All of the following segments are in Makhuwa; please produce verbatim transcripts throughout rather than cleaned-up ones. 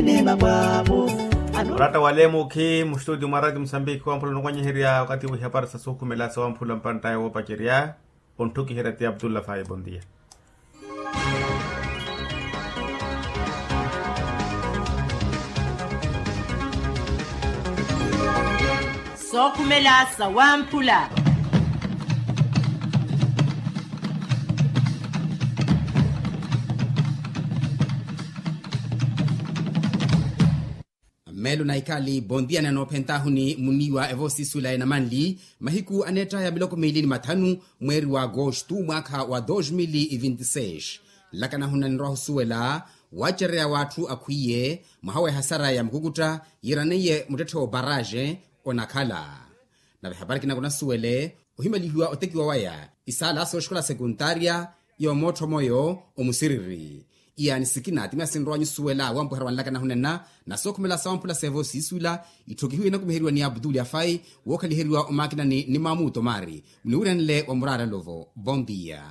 Oratta wa leemukhi mustutio mwa rati musambiki wamphula onukwanyeherya wakati wihapari sa sukhumela sawamphula mpanttaye woopacerya. Ontthukiherya ti abdulla faye bondia. Sookhumela sawamphula. Mmeelo na ikali bondia nano ophentahuni muniiwa evoosiisuwela enamanli mahiku aneettaya miloko miili ni mathanu mweeri wa agostu mwaakha wa dos mil vinti seis. Nlakanahuna ninrowa ohusuwela wacereya w'atthu akhwiiye mwaha w'ehasara ya mukukutta yiiraneiye muttetthe w'oparaje onakhala. Nave ehapari kinakunasuwele ohimalihiwa otekiwa waya isaala sooxikola sekuntaarya yoomootthomweyo omusiriri. Iyaani sikina ti masi nrowanyu suwela wampuherya wanlaka nahunena na sookhumela sawamphula seevo siisuwela. Itthokihiwe inakumiheriwa ni abutuli afai wookhaliheriwa omaakinani ni maamuto maari muniwiranle wa muraarelo vo bondia.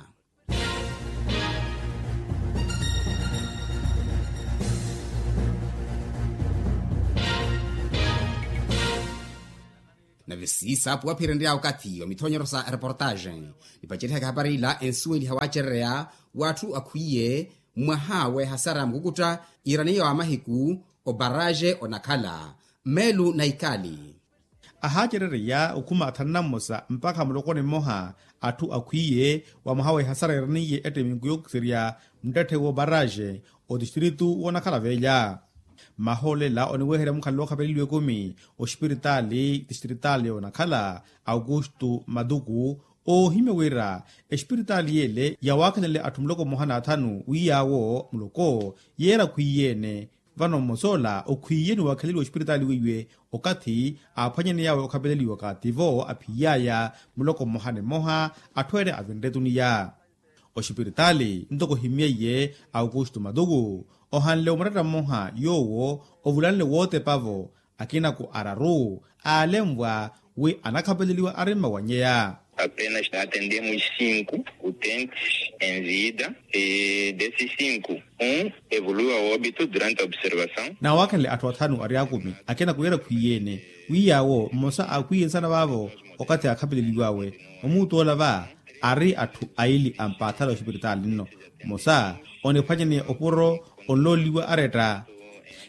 Nave siisaapuwa phirenrya okathi wa mithonyero sa reportaje nipacerihaka ehapari ila ensuweliha wacerereya w'atthu akhwiiye mwaha w'ehasara ya mukukutta iraneiya wa mahiku oparaje onakhala mmeelu na ikali. Ahaacerereya okhuma athanu na mmosa mpakha mulokoni mmoha atthu akhwiiye wa mwaha w'ehasara iraneiye ettimiku yookiserya muttetthe w'oparaje otistritu w'onakhala velya. Mahoolela oniweherya mukhalelo okhapeleliwa ekumi ospiritaali tistritaali yoonakhala aukustu matuku oohimya wira espiritaali yeele yawaakhanele atthu muloko mmoha n'athanu wi yaawo muloko yeera khwiiyeene. Vano mmos'ola okhwiiye ni waakheleliwa ospiritaali weiwe okathi aaphwanyaney'awe okhapeleliwa kaativo aphiiy'aya muloko mmoha ni mmoha atthu ene avinre etuniya. Ospiritaali ntoko ohimmyeiye aukustu matuku ohanle omuretta mmoha yoowo ovulanle wootepavo akinako araru aalenvwa wi anakhapeleliwa ari mmawanyeya. Apenas atendemos cinco utentes em vida e desses cinco um evoluiu a óbito durante a observação. Nawaakhanle atthu athanu ari akumi akinako yeera khwiiyeene wi yaawo mmosa aakhwiiye nsana vaavo okathi aakhapeleliw'awe omuutt'ola va ari atthu aili ampaathale ospiritaali nno mmosa oniphwanyaneya opuro onlooliwa aretta.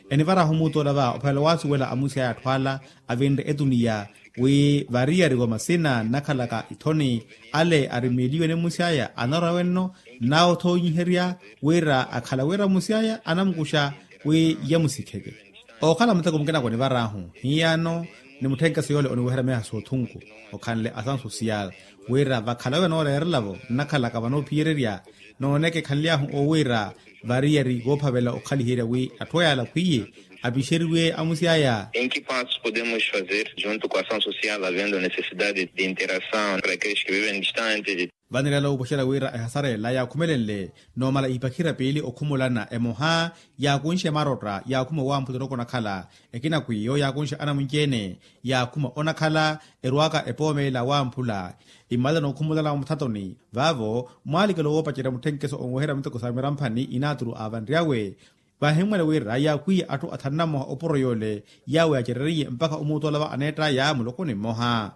Enivarahu omuutt'ola va ophavela waasuwela amusi aya atthu ala avinre etuniya wi variyari wa masina nnakhalaka ithoni ale arimeliwe ni mmusi aya anarwa wenno nawothonyiherya wira akhala wira mmusi aya anamukuxa wi yamusikheke. Ookhala muteko mukina konivarahu hiyano ni mutthenkeso yoole oniweherya meha soothunku okhanle asansu siyala wira vakhala wira nooreerela-vo nnakhalaka vanoophiyererya nooneke ekhanly'ahu owiira variyari voophavela okhaliherya wi atthu ayaala akhwiiye apixeriwe amusi aya. Em que passos podemos fazer junto com a ação social havendo necessidade de interação para aqueles que vivem distantes? Vanirela oopwexela wira ehasara ela yaakhumelenle noomala ipakhira piili okhumulana emoha yaakunxe marotta yaakhuma owamphula onakhala ekina kwiiyo yaakunxe anamunci-ene yaakhuma onakhala erwaka epoomela wamphula imala nookhumulana muthatoni vaavo mwaalikela owoopacerya mutthenkeso onweherya miteko sa miramphani inaaturu aavanryawe. Vaahimmwela wira yaakwiiye atthu athanu na mmoha opuro yoole yaawo yaacereriye mpakha omuutt'ola va aneett'aya muloko ni mmoha.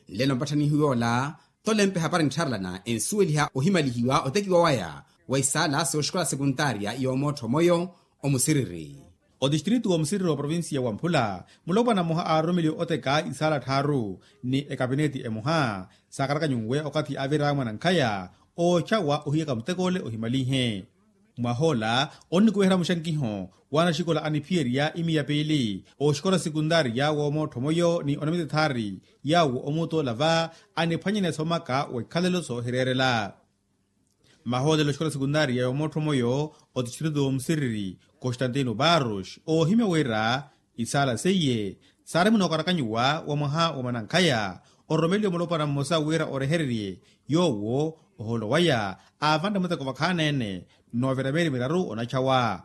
Nlelo mpatthanihu yoola tolempe hapari nttharelana ensuweliha ohimalihiwa otekiwa waya wa isaala sooxikola sekuntaarya yoomootthomweyo omusiriri. Otistritu w'omusiriri wa provincia wamphula mulopwana mmoha aaroromeliwe oteka isaala tthaaru ni ekapineti emoha saakarakanyunwe okathi aavira mwanankhaya ooxawa ohiyaka mutek'ole ohimalinhe. Mwahoola onnikuwehera muxankiho w'anaxikola aniphiyerya imiya piili oxikola sekuntaariya woomootthomweyo ni onamita ethaari yaawo omuutt'ola va aniphwanyaneya soomaka w'ikhalelo soohireerela. Mahoolela oxikola sekuntaariya yoomootthomweyo otistritu w'omusiriri constantino barros oohimya wira isaala seiye saari munookarakanyiwa wa mwaha wa mwanankhaya ororomeliwe mulopwana mmosa wira orehererye yoowo ohoolo waya aavanre muteko vakhaana-ene noovira meeri miraru onachawa.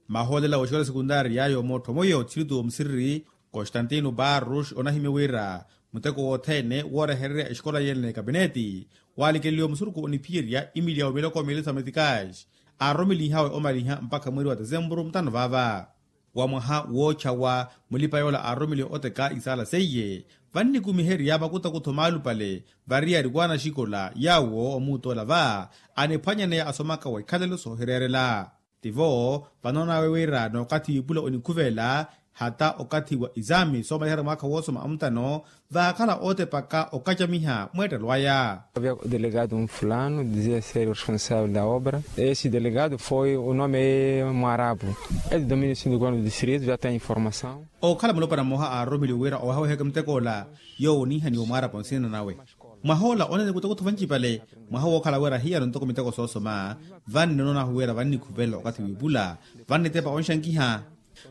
Mahoolela w'oxikola sekuntaariya yoomootthomweyo otistritu w'omusiriri constantino barros onahimya wira muteko wothene woorehererya exikola yene n'ekapineti waalikeleliwe musurukhu oniphiyerya imiliya wa miloko miili sa metikaaxi aaroromelinhawe omaliha mpakha mweeri wa tesempuru mutano vaava. Wa mwaha woochawa mulipa yoola aaroromeliwe oteka isaala seiye, vannikumiherya makutakutho maalupale variyari wanaxikola yaawo omuutola va aniphwanyaneya asomaka wa ikhalelo soohireerela. Tivo vanoon'awe wira n'okathi wipula onikhuvela hata okathi wa isaami soomaliherya mwaakha woosoma amutano, vaakhala ootepaka okacamiha mweettelo aya. Havia delegado um fulano dizia ser o responsavel da obra. Esse delegado foi o nome mwarabu. Ede dominio sindikuano distrito já tem informação. Okhala mulopwana mmoha aaroromeliwe wira owehaweheke muteko ola, yoowo oniihaniwa omwaarapo nsina nawe. Mwaha ola onene kutakutho vancipale. Mwaha wookhala wira hiyano ntoko miteko soosoma, vanni onoon'ahu wira vannikhuvela okathi wiipula, vannitepa onxankiha.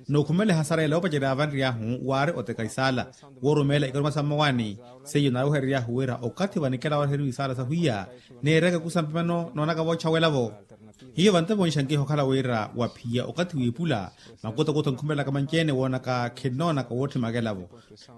Nookhumela ehasara ela yoopacerya vanriy'ahu waari oteka isaala, woorumeela ikaruma sa mmawaani. Seiyo naaruherery'ahu wira okathi vanikela waaruhereriwa isaala sahwiya, neereke kusampi mano noonaka voochawela-vo. Hiyo vantepa onxankiha okhala wira waphiya okathi wiipula, makutakutho nkhumelaka manci-ene woonaka khinnoonaka wootthimaka ela-vo.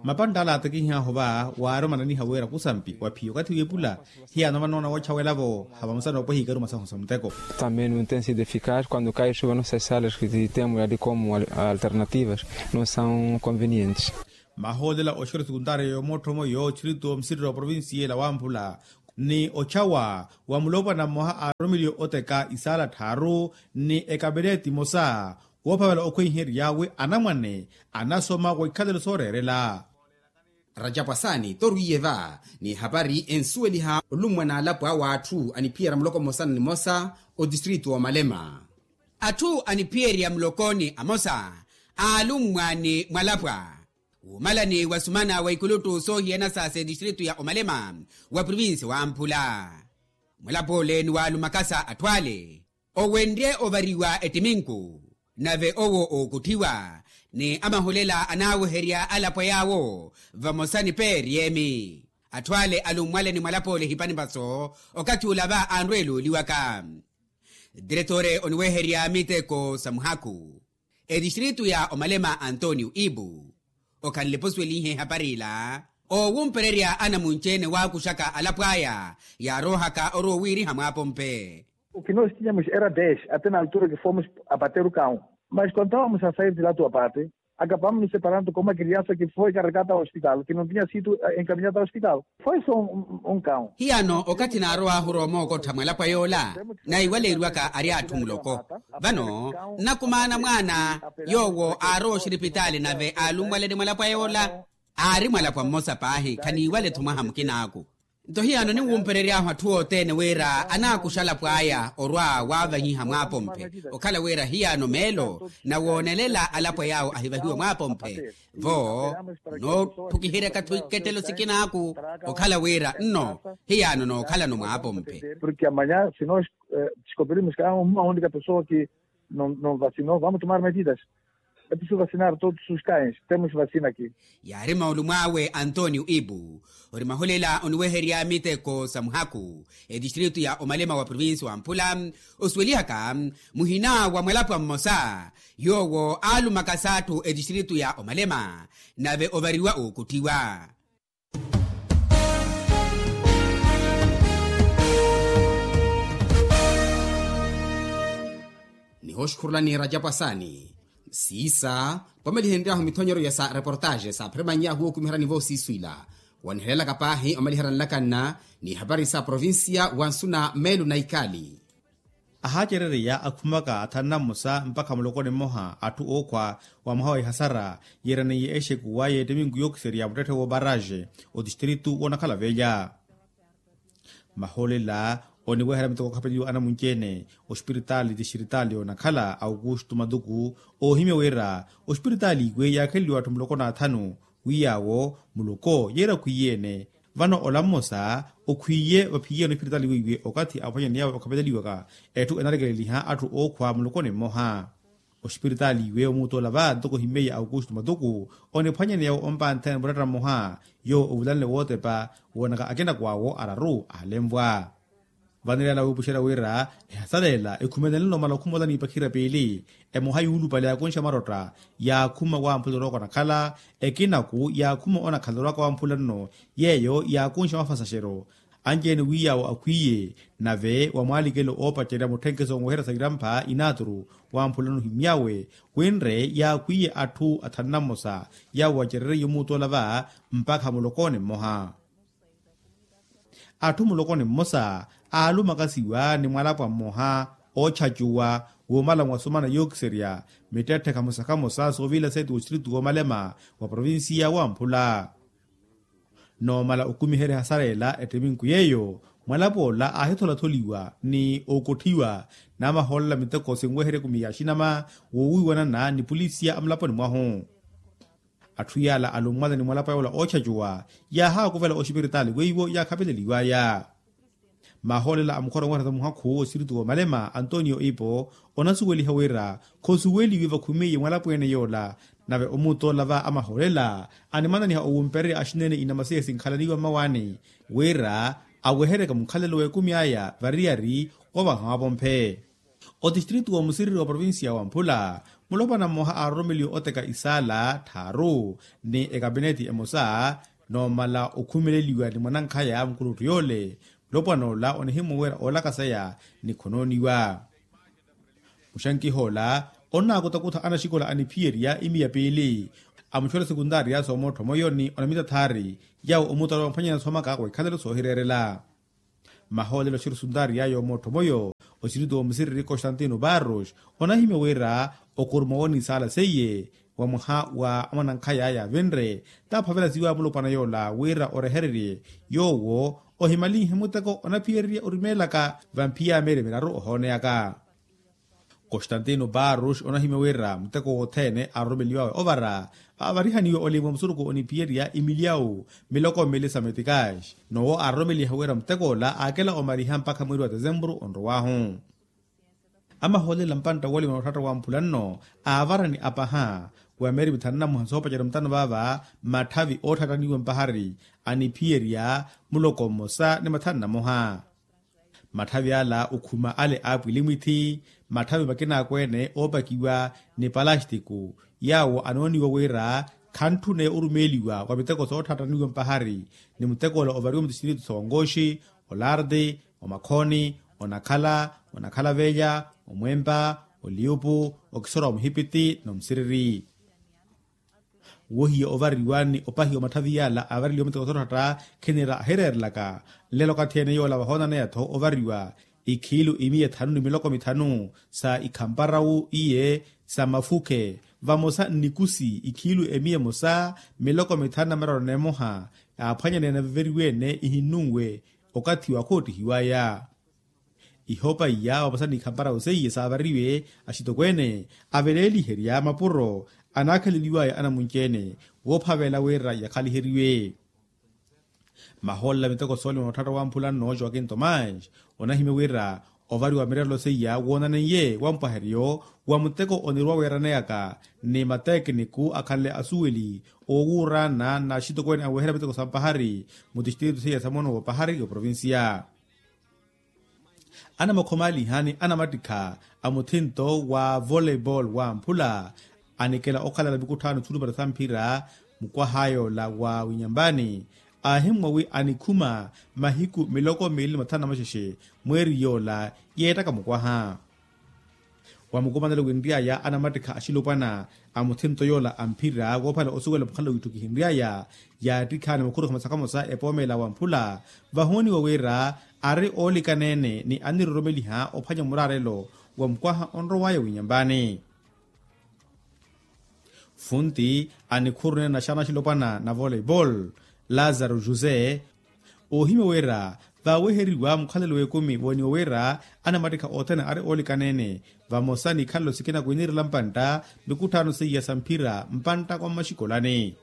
Mapantta ala aatekihih'ahu va waari omananiha wira kusampi waphiya okathi wiipula, hiyano vanoona woochawela-vo. Havamosa noopweha ikaruma sahu sa muteko. Também não tem sido eficaz quando cai chuva nossas salas que temos ali como alternativas não são convenientes. Mahoolela oxikola sekuntaariya yoomottomo yoochirito msirira wa provincia ela wamphula, ni ochawa wa mulopwana mmoha aaroromeliwe oteka isaala tthaaru ni ekabereti emosa, woophavela okhweiherya wi anamwane anasoma wa ikhalelo sooreerela. Rajapu asaani torwiiye va ni ehapari ensuweliha olummwa n'alapo awe atthu aniphiyerya muloko mmosa ni nimosa otistritu w'omalema. Atthu aniphiyerya mulokoni amosa aalummwa ni mwalapwa, wuumalani wasumana wa ikuluttu soohiyana sa seetistritu ya omalema wa provinsi wamphula. Mwalapwa ole ni waalumakasa atthu ale owenrye ovariwa ettiminku, nave owo ookutthiwa ni amahulela anaaweherya alapwa yaawo vamosa ni peeriyemi. Atthu ale alummwale ni mwalapwa ole ehipanipaso okathi ula va anrweela oliwaka. Diretore oniweherya miteko sa muhaku etistritu ya omalema antonio ibu okhanle posuwelihe ehapari ila, oowumpererya anamunci-ene waakuxaka alapwa aya yaaroohaka orowa owiiriha mwaapompe. O que nós tínhamos era dez até na altura que fomos abater o cão, mas contávamos a sair de lá do abate, acabamos nos separando com uma criança que foi carregada ao hospital, que não tinha sido encaminhada ao hospital. Foi só um cão. Hiyano okathi naarow'ahu roomookottha mwalapwa yoola naiwaleeriwaka ari atthu muloko. Vano nnakumaana mwaana yoowo aarowa oxiripitaali nave aalummwale ni mwalapwa yoola. Aari mwalapwa mmosa paahi khaniiwale-tho mwaha mukinaaku. Nto hiyano ninwumperery'ahu atthu othene wira anaakuxa alapwa aya orwa waavanyiha mwaapomphe, okhala wira hiyano meelo nawoonelela alapwa yaawo ahivahiwe mwaapomphe. Vo noothukiheryaka-tho ikettelo sikinaaku okhala wira nno hiyano nookhalano mwaapomphe. Porque amanhã se nós descobrirmos que há uma única pessoa que não vacinou, vamos tomar medidas. Episuva sinari todos os cães temos vacina aqui. Yaari moolumw'awe antonio ibu ori mahulela oniweherya miteko sa muhaku etistritu ya omalema wa provinsi wa mphula, osuwelihaka muhina wa mwalapwa mmosa yoowo aalumakasa atthu etistritu ya omalema nave ovariwa ookutthiwa. Nihooxukhurulani rajapu asaani siisa pwamelihenry'ahu mithonyeryo ya sa reportaxe saaphiremanny'ahu wookumiheryani voosiiswila wanihelelaka paahi omaliherya nlakanna ni hapari sa provincia wa nsuna meelo na ikali. Ahaacerereya akhumaka athanna mmosa mpakha mulokoni mmoha atthu ookhwa wa mwaha wa ihasara yeeraneiye exekuwa y'ettiminku yookiserya muttetthe w'obaraaxe otistritu woonakhala velya. Mahoolela oniweherya miteko okhapeliwa anamunci-ene ospiritaali tistritaali yoonakhala aukustu matuku oohimya wira ospiritaali iwe yaakheleliwa atthu muloko n'athanu wi yaawo muloko yeera okhwiye-ene. Vano ola mmosa okhwiye vaphiye-ene ospiritaali weiwe okathi aphwanyani yawe okhapeleliwaka etthu enalekeleliha atthu ookhwa mulokoni mmoha. Ospiritaali iwe omuuttoola va ntoko ohimmeiye aukustu matuku oniphwanyaneya ompanthene muratta mmoha yoowo ovulanle wootepa woonaka akinaku awo araru aalenvwa. Vanilala wiipuxerya wira ehasaleela ekhumelenle omala okhuma ola n'ipakhirya piili emoha yuulupale yaakunxa marotta yaakhuma wamphula orowaka onakhala ekinaku yaakhuma onakhala orowaka wamphula nno yeeyo yaakunxa mafasaxeryo. Anci-ene wi yaawo akhwiiye nave wa mwaalikelo oopacerya mutthenkeso onweherya sa irampha inaaturu wamphulano ohimmyawe, winre yaakhwiiye atthu athanu na mmosa yaawo acereryiwe omuuttoola va mpakha mulokoni mmoha. Atthu mulokoni mmosa aalumakasiwa ni mwalapwa mmoha oochacuwa woomalanwa osomana yookiserya mittetthe khamosa khamosa soovila seeti wostiritu woomalema wa provincia wamphula. Noomala okumiherya hasara ela ettiminku yeeyo mwalapwa ola aahitholatholiwa ni okotthiwa namahoolela miteko sinweherya ekumi ya axinama woowiiwanana ni pulisiya amulaponi mwahu. Atthu yaala alummwale ni mwalapwa yoola oochacuwa yaahaakuvela oxipiritaali weiwo yaakhapeleliwaya. Mahoolela a mukhora onweherya sa muhakhu osiritu woomalema antonio ipo onasuweliha wira khosuweliwe vakhumeiye mwalapweene yoola. Nave omuuttoola va amahoolela animananiha owumpererya axinene inamasiya sinkhalaniwa mmawaani wira aweheryeke mukhalelo w'ekumi aya variyari ovaha wavomphe. Otistritu wa musiriri wa provincia wa mphula mulopwana mmoha aaroromeliwe oteka isaala tthaaru ni ekapineti emosa noomala okhumeleliwa ni mwanankhaya mukulutthu yoole. Mulopwana ola onihimmwa wira oolakaseya ni khonooniwa. Muxankiha ola onnaakutakutha anaxikola aniphiyerya imiya piili amuxola sekuntaariya soomootthomweyo ni onamita thaari yaawo omuuttoola wamphwanyana soomaka wa ikhalelo soohireerela. Mahoolelo xirsuntaari yaayo mootthomoyo osiritu wa musiriri constantino barros onahimya wira okuruma woonisaala seiye wa mwaha wa mwanankhaya yaavinre taaphavela siwa mulopwana yoola wira orehererye yoowo ohimalinhe muteko onaphiyererya orimeelaka vamphiya meeri miraru ohooneyaka. Constantino barros onahimya wira muteko wothene aaroromeliwawe ovara aavarihaniwe olimwa musurukhu oniphiyerya imilyawu miloko mili sa metikaxi. Nowo aaroromeliha wira muteko ola aakela omariha mpakha mweeri wa tesempuru onrow'ahu. Amahoolela mpantta wolimwa nootthatta wa mphula nno aavarani apaha wa meeri mithanu na mwaha soopacerya mutano vaava matthavi ootthattaniwa mpahari aniphiyerya muloko mmosa ni mathanu na moha. Matthavi ala okhuma ale aapwilimwithi matthavi makina akweene oopakiwa ni palastiku yaawo anooniwa wira khantthune orumeeliwa wa miteko sootthattaniwa mpahari ni muteko ola ovariwa mutistritu sa ongoxi, olardi, omakhooni, onakhala, onakhala velya, omwempa, oliupu, okisora wa muhipiti n'omusiriri. Wohiya ovariwa ni opahiwa matthavi yala aavareliwa miteko sootthatta khinira ahireerelaka. Nlelo okathi ene yoola vahoonaneyatho ovariwa ikhiilu imiya ethanu ni miloko mithanu sa ikhamparawu iye sa mafukhe vamosa nnikusi ikhiilu emiya emosa miloko mithanu na miraru n'emoha. Yaaphwanyaneya naveveriwe-ene ihinnunwe okathi wa khoottihiwaya. Ihoopa iya vamosa n'ikhamparawu seiye saavariwe axitokweene aveleeliherya mapuro anaakhaleliwaya anamunci-ene woophavela wira yakhaliheriwe. Mahoolela miteko soolima nootthatta wa mphula nno joaquin tomás onahimya wira ovariwa mirerelo seiya woonaneiye wampwaheryo wa muteko oniruwa weeraneyaka ni matekiniku akhanle asuweli oowuuraana n'axitokweene aweherya miteko sa mpahari mutistritu seiya sa moono w'opahari oprovincia. Anamakhomaaliha ni anamattikha a muthinto wa voleibol wa mphula anikela okhalala mikutthano tthulupale sa mphira mukwaha yoola wa winyambani aahimmwa wi anikhuma mahiku miloko miili ni mathanu na maxexe mweeri yoola yeettaka mukwaha. Wa mukumanelo winry'aya anamattikha axilopwana a muthinto yoola a mphira woophala osuwela mukhalelo wiitthukihinry'aya yaattikhaani mukhuru khamosa khamosa epoomela wa mphula vahooniwa wira ari oolikaneene ni aniroromeliha ophwanya muraarelo wa mukwaha onrow'aya winyambani. Funti anikhurunene naxana axilopwana na voleibol lazaro josé oohimya wira vaaweheriwa mukhalelo w'ekumi wooniwa wira anamattikha othene ari oolikaneene vamosa n'ikhalelo sikina kwiinirela mpantta mikutthano seiya sa mphira mpantta kwa mmaxikolani.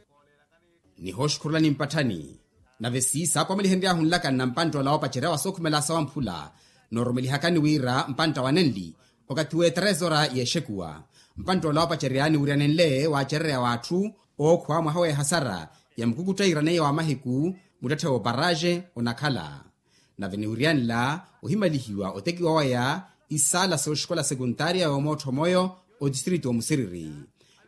Nihooxukhurulani mpatthani nave siisaapwamelihenry'ahu nlaka nna mpantta ola woopacerya wa sookhumela sa wamphula noorumelihakani wira mpantta wa nenli okathi w'eterezora yeexekuwa. Mpantta ola woopacerya niwiryanenle waacererya w'atthu ookhuwa mwaha w'ehasara ya mukukutta iraneiya wa mahiku muttetthe w'oparaxe onakhala. Nave niwiryanela ohimalihiwa otekiwa waya isaala sooxikola sekuntaariya yoomootthomweyo otistritu omusiriri.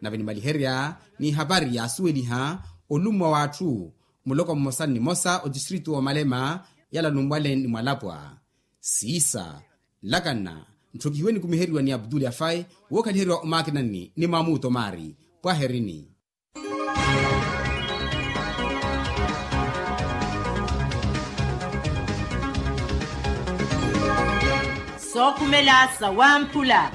Nave nimaliherya n'ihapari yaasuweliha olummwa w'atthu muloko mmosa ni nimosa otistritu w'omalema Yala numwale ni mwalapwa siisa nlakanna. Ntthokihiwe nikumiheriwa ni abdul afai wookhaliheriwa omaakinanni ni mamuto maari. Pwaherini. Sookhumela sawamphula.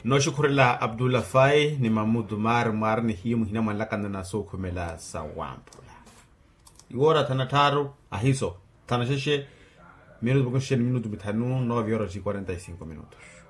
Nooxukhurela abdul afai ni mamutu maari mwaari nihiyo muhina mwanlakana na sookhumela sawamphula. Iwoora thana tthaaru ahiso thana xexe. Minutu vakunxexe ni minutu mithanu nove horas e quarenta e cinco minutos.